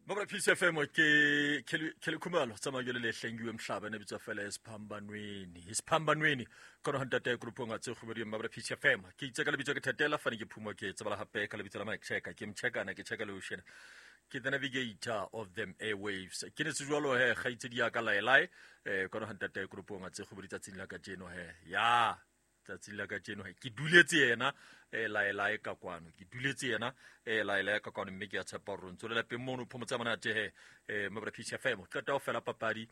Mabra Peace FM ke Kelly Khumalo tsamaya le lehlengiwe emhlaba nebitswa fela esiphambanweni isiphambanweni khona ho ntate group ngatse kgobedi Mabra Peace FM ke itse ka lebitso ke thetela fane ke phumo ke tsebala hape ka lebitso la Mike Checker ke mchekana ke checka le ocean ke the navigator of them airwaves ke ne se jwalo he gaitse di ya ka laelae khona ho ntate group ngatse kgobedi tsatsing la kajeno he ya tsatsing la kajeno ke duletse yena laelae ka kwano ke duletse yena laelae ka kwano mme ke a tshepa gore ntse le lapeng mono phomotsa monate he mabra Peace FM qeta ho fela papadi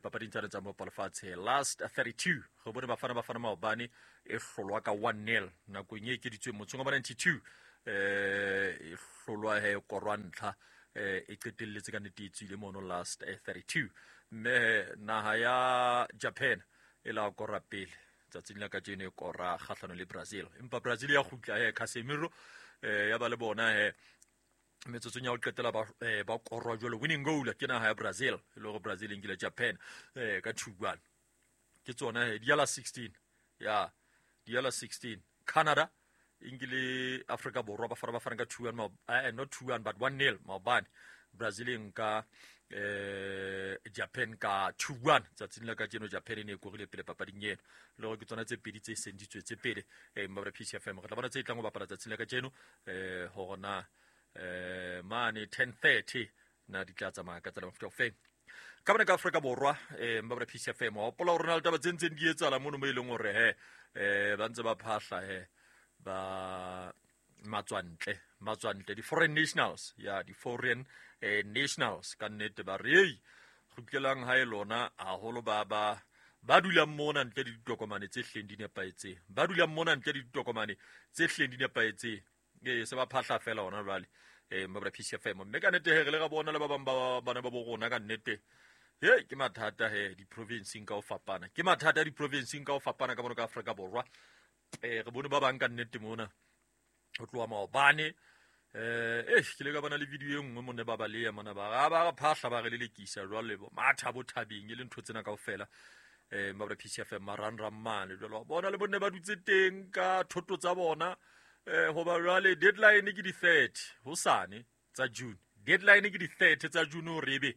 papading tsane tsa mopa lefatshe last 32 re bone Bafana Bafana maobane e hlolwa ka 1-0 nakong e ekeditsweng motsong wa 92 e hlolwa he korwa ntlha e qetelletse ka nnete e tswile mono last 32 mme naha ya Japan e la kora pele tsatsing la kajeno e kora kgahlano le Brazil empa Brazil ya kgutla he Casemiro ya ba le bona he metsotsong ya ho qetela ba korwa jwalo winning goal ke naha ya Brazil e le hore Brazil e nkile Japan ka 2-1 ke tsona he di ya la 16 ya di ya la 16 Canada e nkile Afrika Borwa ba fara ba fana ka 2-1 not 2-1 but 1-0 maobane Brazil e nka Japan ka 2-1 tsatsing la kajeno Japan e ne e korile pele papading eno le gore ke tsona tse pedi tse seng di tswetse pele Mabra Peace FM re tla bona tse e tlang ho bapala tsatsing la kajeno hore na mane 10:30 na di tla tsamaya ka tsela mofuta ofeng ka bone ka Afrika Borwa Mabra Peace FM wa hopola hore na le taba tse ntseng di etsahala mono mo e leng hore he ba ntse ba phahla he ba matswantle di-foreign nationals ya di-foreign nationals ka nnete ba re ei kgutlelang hae lona haholo ba ba ba dulang mona ntle le ditokomane tse hleng di nepahetseng ba dulang mona ntle le ditokomane tse hleng di nepahetseng ee se ba phahla fela hona jwale Mabra Peace FM mme ka nnete he re le ra bona le ba bang ba bana ba bo rona ka nnete he ke mathata he di-provinceng ka ho fapana ke mathata di-provinceng ka ho fapana ka mono ka Afrika Borwa re bone ba bang ka nnete mona ho tloha maobane ke le ka bona le video e nngwe mone ba baleya mona ba ba re phahla ba re lelekisa jwale bo matha bo thabeng e le ntho tsena kaofela Mabra Peace FM marangrang mane jwale wa bona le bonne ba dutse teng ka thoto tsa bona hoba jwale deadline ke di 30 hosane tsa June deadline ke di 30 tsa June hore ebe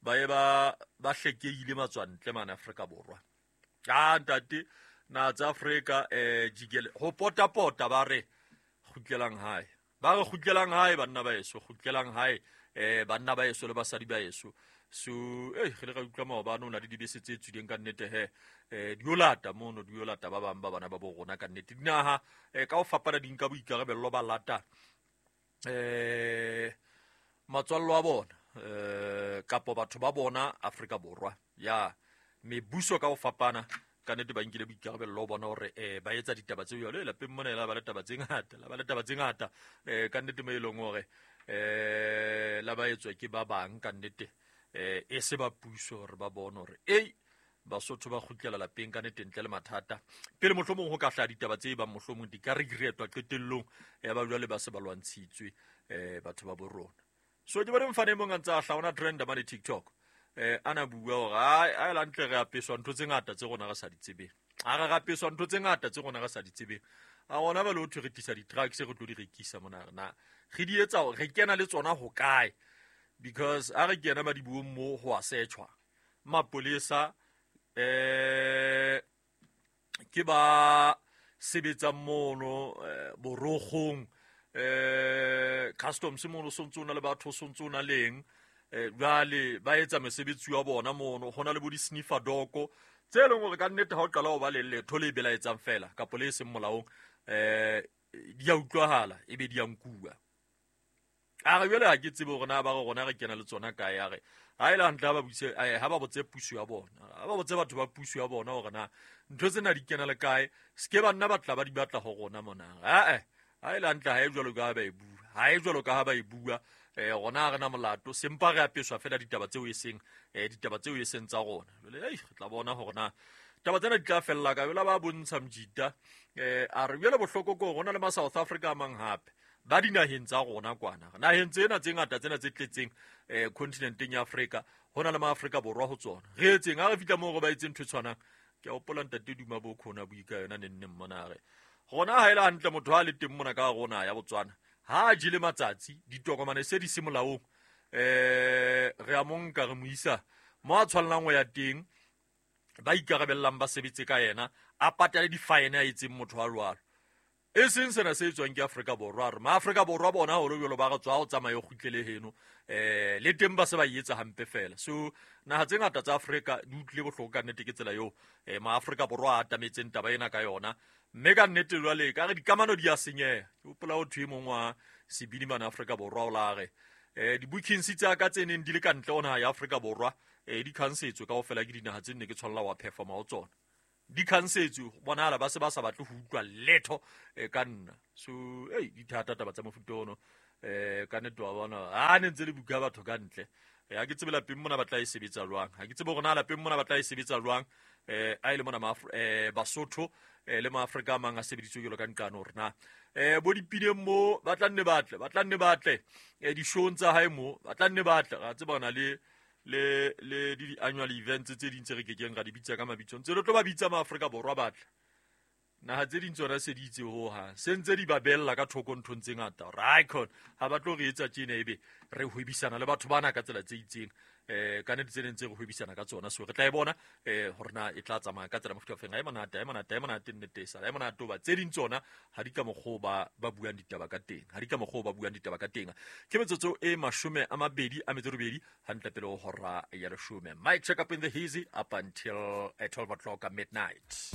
ba ye ba ba hlekehile matswantle mane Afrika Borwa a ntate na tsa Afrika jikele ho pota-pota ba re kgutlelang hae ba re kgutlelang hae banna ba eso kgutlelang hae banna ba eso le basadi ba eso so re le ra utlwa maobane o na le dibese tse tswileng ka nnete he di yo lata mono di yo lata ba bang ba bana ba bo rona ka nnete dinaha ka ho fapana di nka boikarabello ba lata matswallo a bona kapo batho ba bona Afrika Borwa ya mebuso ka ho fapana ka nnete ba nkile boikarabello ho bona hore ba etsa ditaba tse jwalo lapeng mona la ba le taba tse ngata la ba le taba tse ngata ka nnete mo e leng hore la ba etswa ke ba bang ka nnete e se ba puso hore ba bone hore ei Basotho ba kgutlela lapeng ka nnete ntle le mathata pele mohlomong ho ka hlaha ditaba tse bang mohlomong di ka regretwa qetellong ya ba jwale ba se ba lwantshitswe batho ba bo rona so ke bone mfane e mong a ntse a hlaha ona trend mane TikTok ana bua hore ai la ntle re apeswa ntho tse ngata tse rona re sa di tsebeng a re apeswa ntho tse ngata tse rona re sa di tsebeng a rona ba le ho thwe re tlisa di-drugs re tlo di rekisa mona na re di etsa re kena le tsona ho kae because a re kena madibuong mo ho a searchwa mapolesa ke ba sebetsang mono borogong customs mono sontse o na le batho sontse o na leng jwale ba etsa mesebetsi wa bona mono ho na le bo di-sniffer dog tse leng hore ka nnete ha o qala ho ba le letho le belaetsang fela kapo le e seng molaong di a utlwahala ebe di a nkuwa a re jwale ha ke tsebe hore na ba re rona re kena le tsona kae a re ha e le hantle ha ba buse ha ba botse puso ya bona ha ba botse batho ba puso ya bona hore na ntho tsena di kena le kae se ke banna ba tla ba di batla ho rona mona ha e le hantle ha e jwalo ka ha ba e bua ha e jwalo ka ha ba e bua rona ha re na molato sempa re apeswa fela ditaba tseo e seng ditaba tseo e seng tsa rona jwale ei re tla bona hore na taba tsena di tla fella ka jwale ba bontsha mjita a re jwale bohloko ko rona le ma South Africa a mang hape ba dinaheng tsa rona kwana naheng tsena tse ngata tsena tse tletseng continenteng ya Afrika ho na le ma Afrika Borwa ho tsona re etseng ha re fihla moo re ba etseng ntho e tshwanang ke a hopola ntate Duma bo khona bui ka yona nenneng mona re rona ha e le hantle motho ha le teng mona ka rona ya Botswana ha a jele matsatsi ditokomane se di se molaong Re a mo nka re mo isa mo a tshwanelang ho ya teng, ba ikarabellang ba sebetse ka yena, a patale di-fine a etseng motho wa jwalo. E seng sena se etswang ke Afrika Borwa, re maAfrika Borwa bona haholo jwalo ba re tswa o tsamaye o kgutlele heno, le teng ba se ba etsa hampe fela. So naha tse ngata tsa Afrika di utlwile bohloko ka nnete ke tsela eo maAfrika Borwa a atametseng taba ena ka yona. Mme ka nnete jwale ka re dikamano di a senyeha. Ke hopola ho thwe e mong wa sebini mane Afrika Borwa o la re di-bookings tsa ka tse neng di le ka ntle ho naha ya Afrika Borwa di cancetswe kaofela ke dinaha tse nne ke tshwanela wa performa ho tsona. Di cancetswe, bonahala ba se ba sa batle ho utlwa letho ka nna. So ei di thata taba tsa mofuta ono, ka nnete wa bona ha ne ntse le buka batho ka ntle. Ha ke tsebe lapeng mona ba tla e sebetsa jwang, ha ke tsebe hore na lapeng mona ba tla e sebetsa jwang. A ile mona Basotho le maAfrika a mang a sebeditswe jwalo ka nqane hore na bo dipineng mo ba tla nne batle, ba tla nne batle di-showng tsa hae mo ba tla nne batle. Ra tseba na le le le di annual events tse ding tse re kekeng ra di bitsa ka mabitso, ntse re tlo ba bitsa maAfrika Borwa batle. Naha tse ding tsona se di itse ho hang, se ntse di ba bella ka thoko nthong tse ngata hore icon ha ba tlo re etsa tjena, ebe re hwebisana le batho bana ka tsela tse itseng. Ka nnete tse neng tse re hwebisana ka tsona, so re tla e bona hore na e tla tsamaya ka tsela mofuta ofeng. Ha e monate, ha e monate, ha e monate nnete e sala, ha e monate hoba tse ding tsona ha di ka mokgwa ba ba buang ditaba ka teng, ha di ka mokgwa ba buang ditaba ka teng. Ke metsotso e 28 hantle pele ho hora ya leshome. Mic check up in the hazy up until 12 o'clock at midnight.